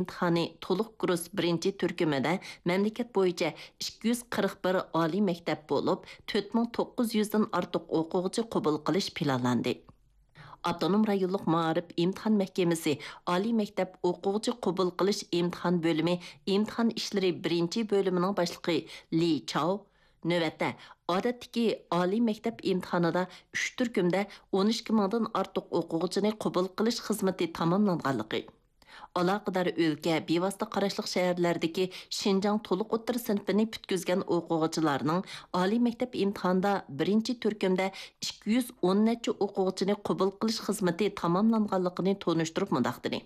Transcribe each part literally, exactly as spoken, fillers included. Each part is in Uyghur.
ئىمتىھانى تولۇق كۇرس بىرىنچى تۈركۈمىدە مەملىكەت بويىچە ئىككى يۈز قىرىق بىر ئالىي مەكتەپ بولۇپ، تۆت مىڭ توققۇز يۈزدىن ئارتۇق ئوقۇغۇچى قوبۇل قىلىش پىلانلاندى. ئاپتونوم رايونلۇق مائارىپ ئىمتىھان مەھكىمىسى ئالىي مەكتەپ ئوقۇغۇچى قوبۇل قىلىش ئىمتىھان بۆلۈمى ئىمتىھان ئىشلىرى بىرىنچى بۆلۈمىنىڭ باشلىقى لى چاۋ نۆۋەتتە ئادەتتىكى ئالىي مەكتەپ ئىمتىھانىدا ئۈچ تۈركۈمدە ئون ئىككى مىڭدىن ئارتۇق ئوقۇغۇچىنى قوبۇل قىلىش خىزمىتى تاماملانغانلىقى، ئالاقىدار ئۆلكە، بىۋاسىتە قاراشلىق شەھەرلەردىكى شىنجاڭ تولۇق ئوتتۇرا سىنىپىنى پۈتكۈزگەن ئوقۇغۇچىلارنىڭ ئالىي مەكتەپ ئىمتىھانىدا بىرىنچى تۈركۈمدە ئىككى يۈز ئون نەچچە ئوقۇغۇچىنى قوبۇل قىلىش خىزمىتى تاماملانغانلىقىنى تونۇشتۇرۇپ مۇنداق دېدى: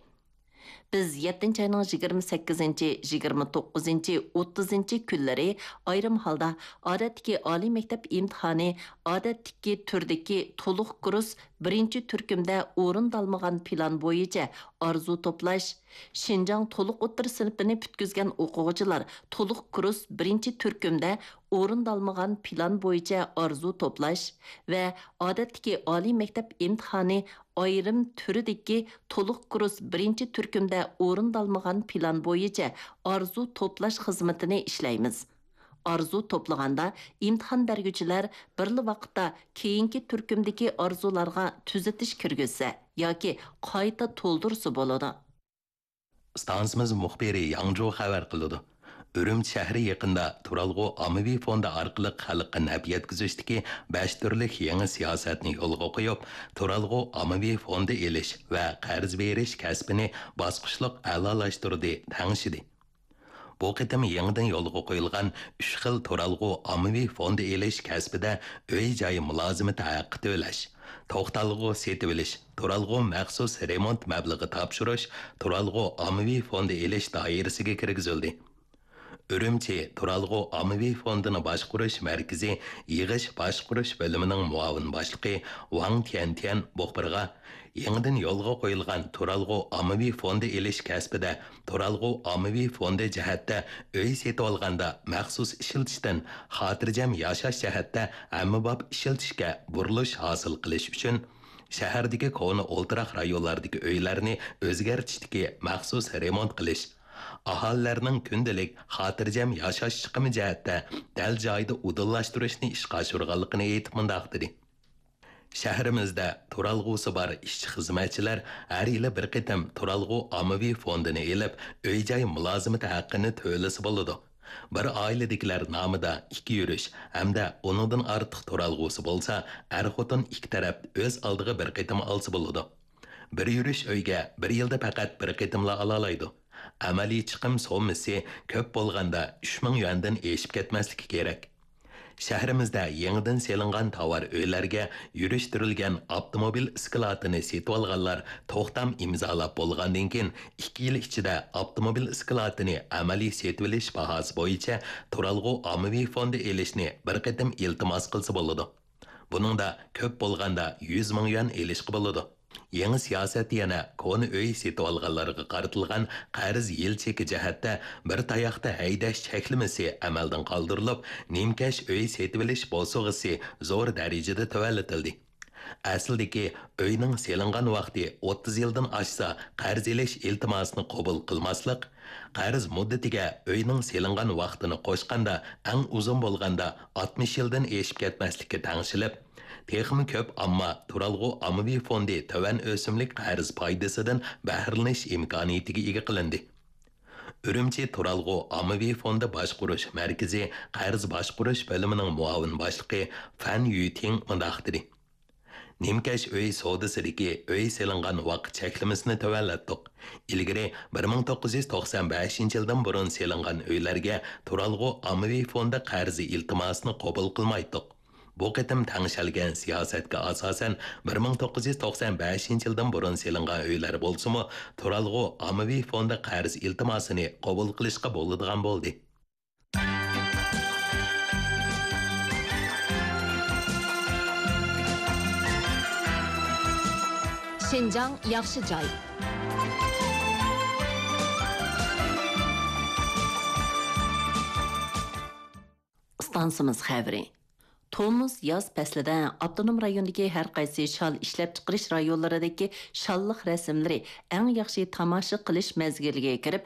بىز يەتتىنچى ئاينىڭ يىگىرمە سەككىزىنچى، يىگىرمە توققۇزىنچى، ئوتتۇزىنچى كۈنلىرى ئايرىم ھالدا ئادەتتىكى ئالىي مەكتەپ ئىمتىھانى، ئادەتتىكى تۈردىكى تولۇق كۇرس بىرىنچى تۈركۈمدە ئورۇندالمىغان پىلان بويىچە ئارزۇ توپلاش، شىنجاڭ تولۇق ئوتتۇرا سىنىپىنى پۈتكۈزگەن ئوقۇغۇچىلار تولۇق كۇرس بىرىنچى تۈركۈمدە ئورۇندالمىغان پىلان بويىچە ئارزۇ توپلاش ۋە ئادەتتىكى ئالىي مەكتەپ ئىمتىھانى ئايرىم تۈرىدىكى تولۇق كۇرس بىرىنچى تۈركۈمدە ئورۇندالمىغان پىلان بويىچە ئارزۇ توپلاش خىزمىتىنى ئىشلەيمىز. ئارزۇ توپلىغاندا ئىمتىھان بەرگۈچىلەر بىرلا ۋاقىتتا كېيىنكى تۈركۈمدىكى ئارزۇلارغا تۈزىتىش كىرگۈزسە ياكى قايتا تولدۇرسا بولىدۇ. ئىستانسىمىز مۇخبىرى ياڭجۇ خەۋەر قىلىدۇ. ئۈرۈمچى شەھىرى يېقىندا تۇرالغۇ ئاممىۋى فوندى ئارقىلىق خەلققە نەپ يەتكۈزۈشتىكى بەش تۈرلۈك يېڭى سىياسەتنى يولغا قويۇپ، تۇرالغۇ ئاممىۋى فوندى ئېلىش ۋە قەرز بېرىش كەسپىنى باسقۇچلۇق ئەلالاشتۇردى، تەڭشىدى. بۇ قېتىم يېڭىدىن يولغا قويۇلغان ئۈچ خىل تۇرالغۇ ئاممىۋى فوندى ئېلىش كەسپىدە ئۆي-جاي مۇلازىمىتى ھەققى تۆلەش، توختالغۇ سېتىۋېلىش، تۇرالغۇ مەخسۇس رېمونت مەبلىغى تاپشۇرۇش، تۇرالغۇ ئاممىۋى فوندى ئېلىش دائىرىسىگە كىرگۈزۈلدى. ئۈرۈمچى تۇرالغۇ ئاممىۋى فوندىنى باشقۇرۇش مەركىزى يىغىش باشقۇرۇش بۆلۈمىنىڭ مۇئاۋىن باشلىقى ۋاڭ تيەنتيەن مۇخبىرغا، يېڭىدىن يولغا قويۇلغان تۇرالغۇ ئاممىۋى فوندى ئېلىش كەسپىدە تۇرالغۇ ئاممىۋى فوندى جەھەتتە ئۆي سېتىۋالغاندا مەخسۇس ئىشلىتىشتىن خاتىرجەم ياشاش جەھەتتە ھەممىباب ئىشلىتىشكە بۇرۇلۇش ھاسىل قىلىش ئۈچۈن، شەھەردىكى كونا ئولتۇراق رايونلاردىكى ئۆيلەرنى ئۆزگەرتىشتىكى مەخسۇس رېمونت قىلىش، ئاھالىلەرنىڭ كۈندىلىك خاتىرجەم ياشاش چىقىمى جەھەتتە دەل جايىدا ئۇدۇللاشتۇرۇشنى ئىشقا ئاشۇرغانلىقىنى ئېيتىپ مۇنداق دېدى. شەھىرىمىزدە تۇرالغۇسى بار ئىشچى-خىزمەتچىلەر ھەر يىلى بىر قېتىم تۇرالغۇ ئاممىۋى فوندىنى ئېلىپ، ئۆي-جاي مۇلازىمىتى ھەققىنى تۆلىسە بولىدۇ. بىر ئائىلىدىكىلەر نامىدا ئىككى يۈرۈش ھەمدە ئۇنىڭدىن ئارتۇق تۇرالغۇسى بولسا، ئەر-خوتۇن ئىككى تەرەپ ئۆز ئالدىغا بىر قېتىم ئالسا بولىدۇ. بىر يۈرۈش ئۆيگە بىر يىلدا پەقەت بىر قېتىملا ئالالايدۇ. ئەمەلىي چىقىم سوممىسى كۆپ بولغاندا ئۈچ مىڭ يۈەندىن ئېشىپ كەتمەسلىكى كېرەك. شەھىرىمىزدە يېڭىدىن سېلىنغان تاۋار ئۆيلەرگە يۈرۈشتۈرۈلگەن ئاپتوموبىل ئىسكىلاتىنى سېتىۋالغانلار توختام ئىمزالاپ بولغاندىن كېيىن، ئىككى يىل ئىچىدە ئاپتوموبىل ئىسكىلاتىنى ئەمەلىي سېتىۋېلىش باھاسى بويىچە تۇرالغۇ ئاممىۋى فوندى ئېلىشنى بىر قېتىم ئىلتىماس قىلسا بولىدۇ. بۇنىڭدا كۆپ بولغاندا يۈز مىڭ يۈەن ئېلىشقا بولىدۇ. يېڭى سىياسەت يەنە كونا ئۆي سېتىۋالغانلارغا قارىتىلغان قەرز يىل چېكى جەھەتتە بىر تاياقتا ھەيدەش چەكلىمىسى ئەمەلدىن قالدۇرۇلۇپ، نىمكەش ئۆي سېتىۋېلىش بوسۇغىسى زور دەرىجىدە تۆۋەنلىتىلدى. ئەسلىدىكى ئۆينىڭ سېلىنغان ۋاقتى ئوتتۇز يىلدىن ئاشسا، قەرز ئېلىش ئىلتىماسىنى قوبۇل قىلماسلىق، قەرز مۇددىتىگە ئۆينىڭ سېلىنغان ۋاقتىنى قوشقاندا، ئەڭ ئۇزۇن بولغاندا ئاتمىش يىلدىن ئېشىپ كەتمەسلىككە تەڭشىلىپ، تېخىمۇ كۆپ ئامما تۇرالغۇ ئاممىۋى فوندى تۆۋەن ئۆسۈملۈك قەرز پايدىسىدىن بەھرىلىنىش ئىمكانىيىتىگە ئىگە قىلىندى. ئۈرۈمچى تۇرالغۇ ئاممىۋى فوندى باشقۇرۇش مەركىزى قەرز باشقۇرۇش بۆلۈمىنىڭ مۇئاۋىن باشلىقى فەن يۈتىڭ مۇنداق دېدى. نىمكەش ئۆي سودىسىدىكى ئۆي سېلىنغان ۋاقىت چەكلىمىسىنى تۆۋەنلەتتۇق. ئىلگىرى بىر مىڭ توققۇز يۈز توقسان بەشىنچى يىلدىن بۇرۇن سېلىنغان ئۆيلەرگە تۇرالغۇ ئاممىۋى فوندى قەرزى ئىلتىماسىنى قوبۇل قىلمايتتۇق. بۇ قېتىم تەڭشەلگەن سىياسەتكە ئاساسەن، بىر مىڭ توققۇز يۈز توقسان بەشىنچى يىلدىن بۇرۇن سېلىنغان ئۆيلەر بولسىمۇ، تۇرالغۇ ئاممىۋى فوندى قەرز ئىلتىماسىنى قوبۇل قىلىشقا بولىدىغان بولدى. شىنجاڭ ياخشى جاي. ئىستانسىمىز خەۋىرى. تومۇز، ياز پەسلىدە ئاپتونوم رايوندىكى ھەر قايسى شال ئىشلەپچىقىرىش رايونلىرىدىكى شاللىق رەسىملىرى ئەڭ ياخشى تاماشا قىلىش مەزگىلىگە كىرىپ،